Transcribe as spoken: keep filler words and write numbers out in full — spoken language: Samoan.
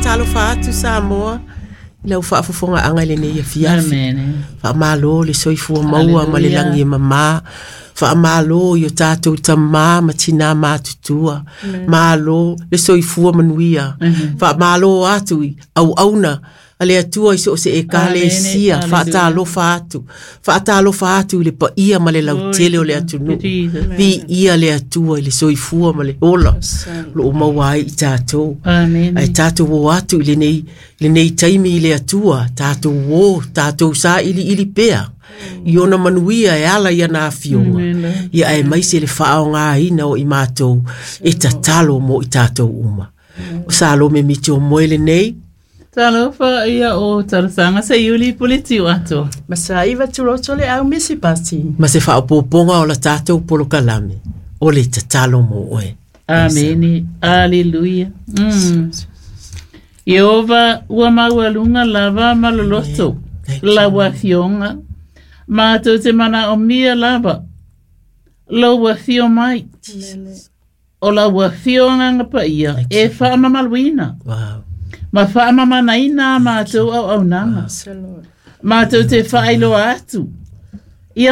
Faatalofa atu Samoa i lau faafofogaaga i lenei afiafi. Amene. Faamālō le soifua maua ma le lagi e mamā. Faamālō i o tatou tamā ma tinā matutua. Malo le soifua manuia. Faamālō atu i auauna a le Atua i so o se ekalesia. Amene. Faatalofa atu. Faatalofa atu i le paia ma le lautele o le atunuu. Jesus. Viia le Atua i le soifua ma le ola o loo maua ai i tatou. Amene. Ae tatou o atu i lenei, lenei taimi i le Atua, tatou o, tatou sailiili pea i ona manuia e ala i ana afioga. Ia aemaise le faaaogaina o i matou e tatalo mo i tatou uma. O Salome Miti o moe lenei. Talofa ia o talosaga se iuli puliti o ato. Masaiva tuloto le au misi pasi. Ma se faaopoopoga o la tatou polokalame o le tatalo mo oe. Amene. Aleluia. Mm. Iehova ua maualuga lava ma loloto. Thank you. Lau afioga. Matou te manaomia lava. Lou afio mai. O lau afioga paia e faamamaluina. Wow. Ma faamamanaina a matou auaunaga. Matou te faailoa atu.